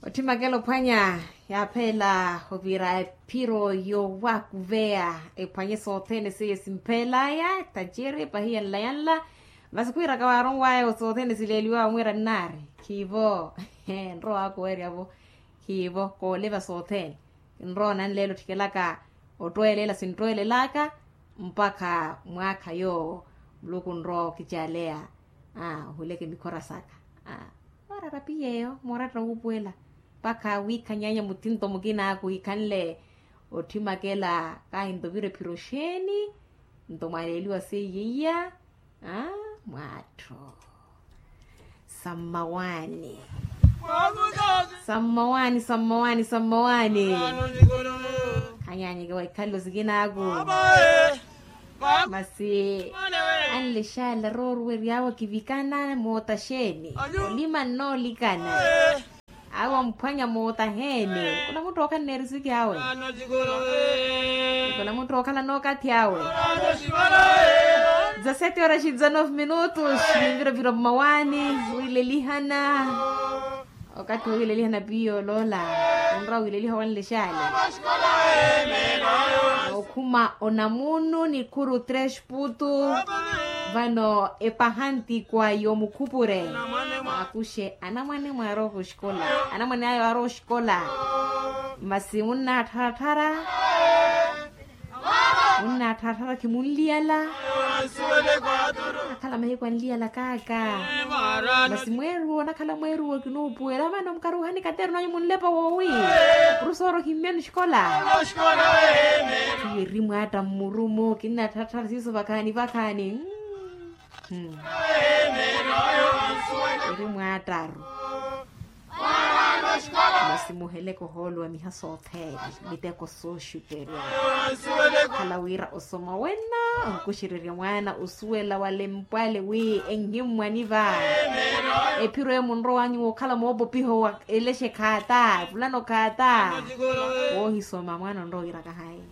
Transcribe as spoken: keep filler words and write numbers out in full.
Othimakela ophwanya yaaphela ovira ephiro yowakuveya ephwanye sothene seiye simphelaya taceri pahiya nlayanla. Masi khwiiraka waaronwaya sothene sileeliwa omwiira nnaari khiivo. Nrowa wakuweryavo khiivo kooleva sothene. Nrowa nanleela otthikelaka ottweelela sinttweelelaka mpakha mwaakha yoowo muluku nrowa okicaleya. Ohuleke mikhora saka. Orarapiyeyo mooratta wuupuwela mpakha wiikhanyaanya muthinto mukinaaku wiikhanle. Otthimakela kahinto vira ephiro xeeni? Nto mwaaleeliwa seiye iya. Mwaattho. Sammawaani. Sammawaani sammawaani sammawaani. Khanyaanyeke waikhalelo sikinaaku. Masi anlexaala rooruweryaawe kivikana moota xeeni? Olima nnoolikana. Awo amphwanya moota heene. Kuna mutthu ookhala neerisiki awe. Kuna mutthu ookhala nookathi awe. Dezasete horas e dezanove minutos. Nimviravira mmawaani. Wiilelihana. Okathi wowiilelihana piyo loola. Onra wiileliha wanlexaale. Okhuma onamunu nikhuru tres putu. Vano epahantikwa yomukhupure. Akuxe anamwane mwaarooka oxikola. Anamwane ayo aarowa oxikola. Masi munnaattharatthara. Munnaattharatthara khimunliyala. Akhala mahiku anliyala kaaka. Masi mweeruwo onakhala mweeruwo kinuupuwela vano mukaruuhani kateru nanyu munlepa woowi. Purusooro ohimmyani oxikola. Khiyo erimwaatta mmurumu kinnattharattara siiso vakhaani vakhaani. Eri mwaattaru. Masi muheleke ohooluwa miha sothene. Miteko sooxuperya. Khala wira osoma wenno onkuxererya mwaana osuwela wale mpwale wi enhimmwani va. Ephiro eyo munrowanyuwa okhala moopopiho wa elexe khaata evulano khaata. Woohisoma mwaana onrowa wira kahayi.